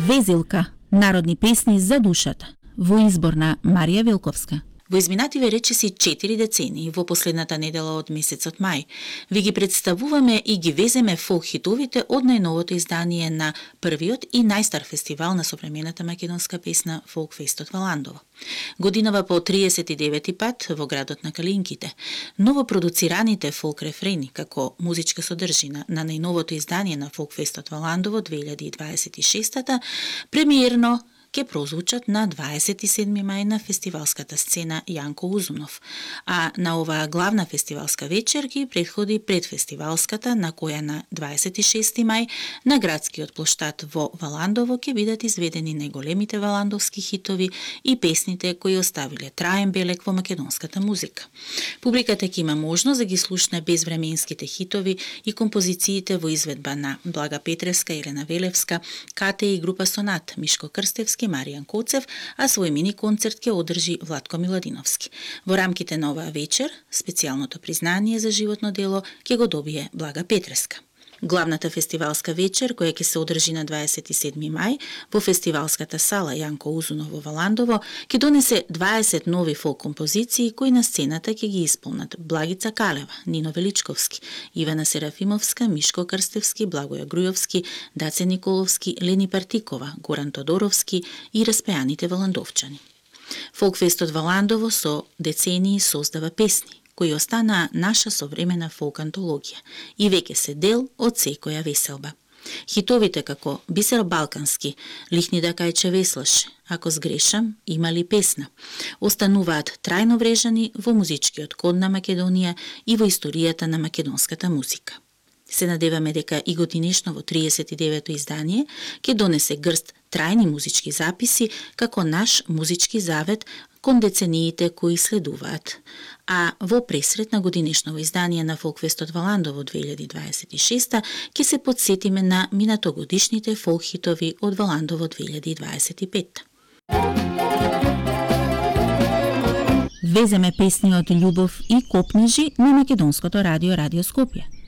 Везилка, народни песни за душата, во избор на Марија Вилковска. Во изминативе речиси 4 децении, во последната недела од месецот мај, ви ги представуваме и ги веземе фолк хитовите од најновото издание на првиот и најстар фестивал на современата македонска песна Фолкфестот во Ландово. Годинава по 39-ти пат во градот на Калинките, новопродуцираните фолк рефрени како музичка содржина на најновото издание на Фолкфестот во Ландово 2026-та, премиерно ке прозвучат на 27 мај на фестивалската сцена Јанко Узунов, а на оваа главна фестивалска вечер ги претходи предфестивалската, на која на 26 мај на градскиот плоштад во Валандово ќе бидат изведени најголемите валандовски хитови и песните кои оставиле траен белег во македонската музика. Публиката ќе има можност да ги слушне безвременските хитови и композициите во изведба на Блага Петревска, Елена Велевска, Кате и група Сонат, Мишко Крстевски, Маријан Коцев, а свој мини концерт ќе одржи Владко Миладиновски. Во рамките на оваа вечер, специјалното признание за животно дело ќе го добие Блага Петревска. Главната фестивалска вечер, која ќе се одржи на 27 мај во фестивалската сала Јанко Узунов во Валандово, ќе донесе 20 нови фолк композиции кои на сцената ќе ги исполнат Благица Калева, Нино Величковски, Ивана Серафимовска, Мишко Крстевски, Благоја Грујовски, Даце Николовски, Лени Партикова, Горан Тодоровски и распеаните валандовчани. Фолкфестот Валандово со децении создава песни кои останаа наша современа фолк антологија и веќе се дел од секоја веселба. Хитовите како Бисер Балкански, Лихни да кајче веслаше, Ако сгрешам, има ли песна, остануваат трајно врежани во музичкиот код на Македонија и во историјата на македонската музика. Се надеваме дека и годинешно во 39-то издание ќе донесе грст трајни музички записи како наш музички завет кон децениите кои следуваат. А во пресрет на годинешново издание на Фолкфестот Валандово 2026 ќе се подсетиме на минатогодишните фолк хитови од Валандово 2025. Веземе песни од љубов и копнежи на Македонското радио Радио Скопје.